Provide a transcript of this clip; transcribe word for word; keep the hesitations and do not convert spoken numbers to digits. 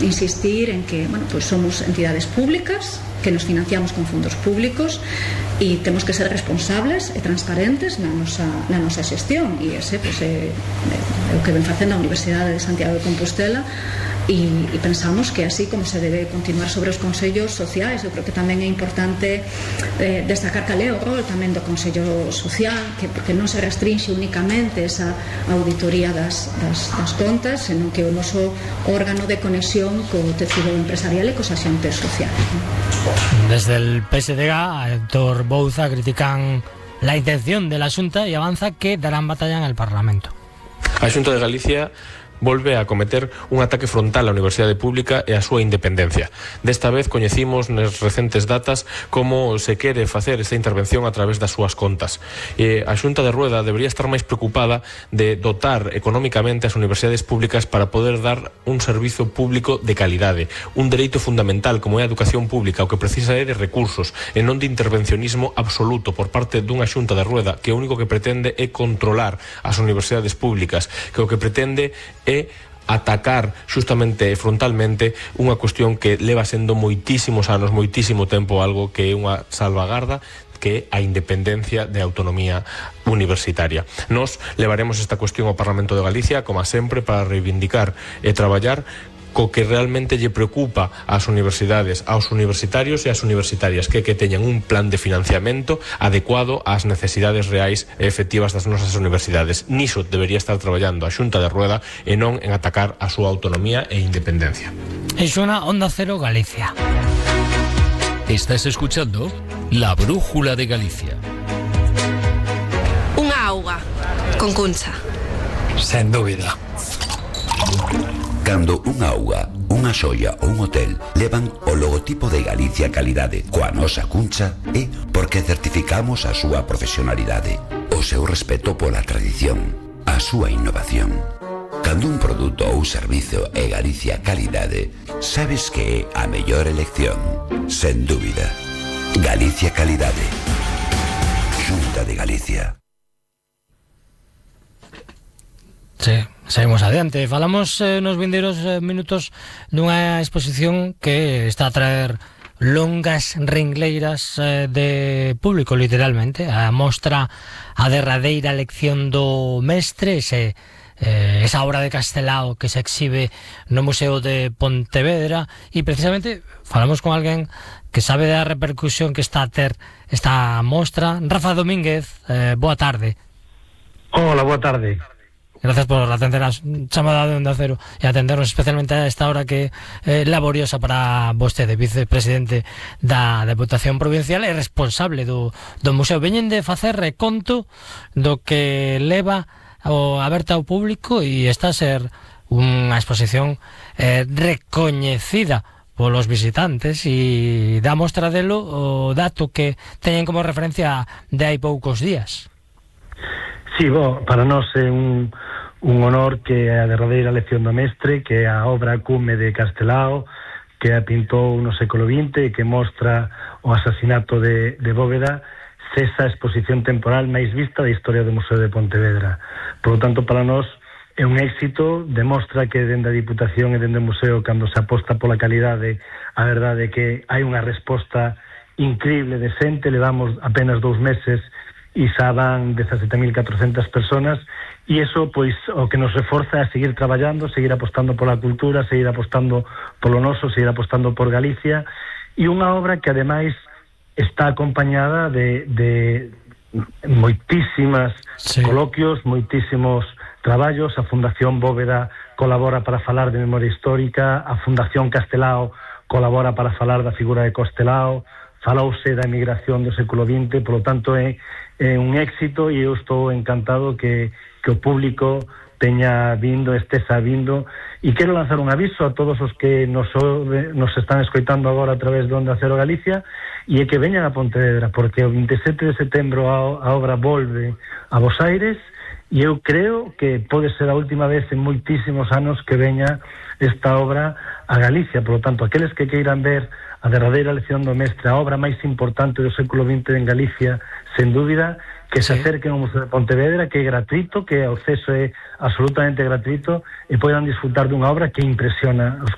insistir en que, bueno, pues somos entidades públicas que nos financiamos con fondos públicos e temos que ser responsables e transparentes na nosa, na nosa xestión, e ese pues, é, é o que ven facendo a Universidade de Santiago de Compostela, e, e pensamos que así como se debe continuar sobre os consellos sociais. Eu creo que tamén é importante eh, destacar cal é o rol tamén do Consello Social, que porque non se restringe únicamente esa auditoría das, das, das contas, senón que o noso órgano de conexión co tecido empresarial e cos axentes sociais. Desde el P S D G, a Héctor Bouza critican la intención de la Xunta y avanza que darán batalla en el Parlamento. A Xunta de Galicia volve a cometer un ataque frontal á Universidade Pública e á súa independencia. Desta vez coñecimos nas recentes datas como se quere facer esta intervención a través das súas contas. E a Xunta de Rueda debería estar máis preocupada de dotar económicamente as universidades públicas para poder dar un servizo público de calidade, un dereito fundamental como é a educación pública, o que precisa é de recursos e non de intervencionismo absoluto por parte dunha Xunta de Rueda que o único que pretende é controlar as universidades públicas, que o que pretende é atacar xustamente e frontalmente unha cuestión que leva sendo moitísimos anos, moitísimo tempo, algo que é unha salvagarda, que é a independencia de autonomía universitaria. Nos levaremos esta cuestión ao Parlamento de Galicia, como sempre, para reivindicar e traballar co que realmente lle preocupa ás universidades, aos universitarios e ás universitarias, que que teñan un plan de financiamento adecuado ás necesidades reais e efectivas das nosas universidades. Niso debería estar traballando a Xunta de Rueda e non en atacar a súa autonomía e independencia. Es una Onda Cero Galicia. Estás escuchando La Brújula de Galicia. Unha auga con Cuncha. Sen dúbida. Cando unha auga, unha xoia ou un hotel levan o logotipo de Galicia Calidade coa nosa Cuncha, é porque certificamos a súa profesionalidade, o seu respeto pola tradición, a súa innovación. Cando un produto ou servizo é Galicia Calidade, sabes que é a mellor elección, sen dúbida. Galicia Calidade. Xunta de Galicia. Sí, seguimos adiante. Falamos eh, nos vindeiros eh, minutos dunha exposición que está a traer longas ringleiras eh, de público, literalmente. A mostra A derradeira lección do mestre, ese, eh, esa obra de Castelao que se exhibe no Museo de Pontevedra, e precisamente falamos con alguén que sabe da repercusión que está a ter esta mostra. Rafa Domínguez, eh, boa tarde. Hola, boa tarde. Gracias por atender a chamada de Onda Cero e atendernos especialmente a esta hora que é eh, laboriosa para vostede, vicepresidente da Deputación Provincial e responsable do, do museo. Veñen de facer reconto do que leva o aberta ao público e está a ser unha exposición eh, recoñecida polos visitantes, e dá mostra delo o dato que teñen como referencia de hai poucos días. Sí, bo, para nós é un, un honor que a derradeira lección do mestre, que é a obra cume de Castelao, que a pintou no século vinte e que mostra o asasinato de, de Bóveda, cesa a exposición temporal máis vista da historia do Museo de Pontevedra. Por lo tanto, para nós é un éxito, demostra que dende a Diputación e dende o Museo, cando se aposta pola calidade, a verdade é que hai unha resposta increíble de xente. Levamos apenas dous meses e xa van dezasete mil catrocentas personas, e iso pois o que nos reforza é seguir traballando, seguir apostando pola cultura, seguir apostando polo noso, seguir apostando por Galicia, e unha obra que ademais está acompañada de, de moitísimas sí. coloquios, moitísimos traballos. A Fundación Bóveda colabora para falar de memoria histórica, a Fundación Castelao colabora para falar da figura de Castelao, falouse da emigración do século vinte, polo tanto é, é un éxito, e eu estou encantado que, que o público teña vindo, estesa vindo, e quero lanzar un aviso a todos os que nos, nos están escoitando agora a través de Onda Cero Galicia, e é que veñan a Pontevedra, porque o vinte e sete de setembro a, a obra volve a Bos Aires, e eu creo que pode ser a última vez en moitísimos anos que veña esta obra a Galicia. Por lo tanto, aqueles que queiran ver a derradeira lección do mestre, a obra máis importante do século vinte en Galicia, sen dúbida, que se acerquen ao Museo de Pontevedra, que é gratuito, que o acceso é absolutamente gratuito, e poidan disfrutar dunha obra que impresiona os